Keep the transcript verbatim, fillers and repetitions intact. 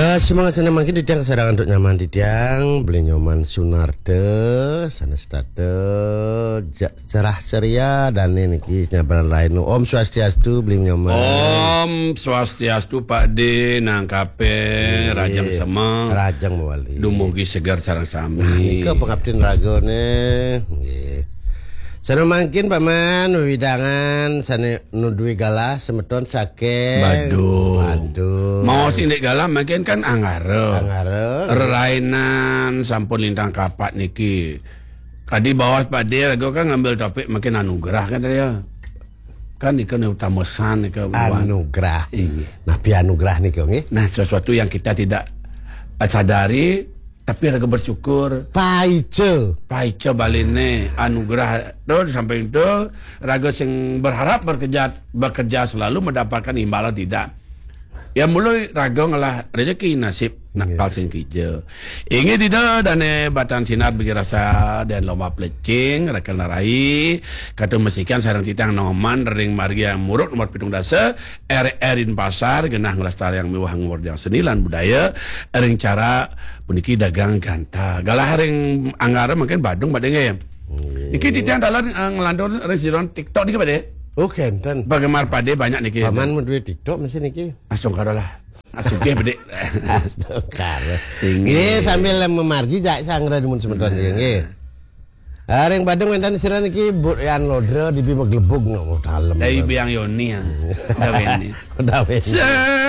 Eh, semangat senang makin titiang kesadangan untuk nyaman titiang, beli nyoman Sunarte, sana starte, ja- cerah ceria, dan niki nyabaran lain. Om Swastiastu, beli nyoman. Om Swastiastu, Pak D, nangkape, Iya. Rajang semeng. Rajang mawali. Dumugi segar sareng sami. Nika pengabdin raga ne. Nggih. Sana mangkin Paman, wewidangan, sana nudui galah, semeton saking. Badung. Badung. Mau sindik galah mangkin kan Anggara. Anggara. Rerainan sampun lintang kapat niki. Tadi bawas Pak D, raga kan ngambil topik mangkin anugerah kan tadi ya. Kan nika ne utama san nika. Anugerah. Iya. Nah, pi anugerah nika nggih. Nah, sesuatu yang kita tidak sadari, tapi raga bersyukur. Paica. Paica baline anugerah tu sampai itu raga sing berharap bekerja bekerja selalu mendapatkan imbalan tidak. Ya, mula raga ngelah rezeki nasib nakal sing kija. Inggih dida dane batan sinar bagi rasa dan lomba plecing, rakan rai, katu mesikan sareng titang noman ring margi yang muruk nomor pitung dasa, R R Denpasar, genah ngelestariang miwah ngurdiang seni lan budaya, ring cara puniki dagang ganta. Galah ring Anggara mangkin Badung Pak D nggih. Nggih. Niki titiang dalan, eh, ngelantur ring siron TikTok niki Pak D. Oh, kenten. Bagaimana Pak D banyak niki? Paman mau duit TikTok mesti niki. Langsung karo lah. Asugih bedik. Astagfirullah. Tinggi. Nggih, sambil memargi jak sanggra dumun semeton nggih. Nggih. Ah, ring Badung wenten sira niki Bu Yan Lodra dibi maglebug nang dalem. Dari Biang Yoni ya. Udah ini. Udah wis. Se-